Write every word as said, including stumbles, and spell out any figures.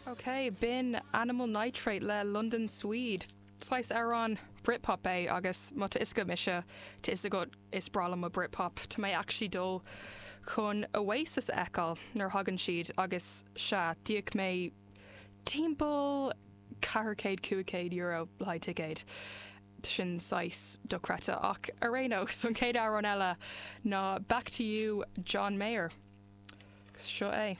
Ok, b'in Animal Nitrate le London Swede. Saghas amhrán Britpop é agus má tá fhios agat mise tá fhios agat is breá liom Britpop Tá mé actually dul chun Oasis a fheiceáil nuair thagann siad agus sea d'íoc mé timpeall ceathair céad cúig céad euro le haghaidh ticéid. sin saghas dochreidte ach ar aon nós an chéad amhrán eile ná Back to You John Mayer. Seo é.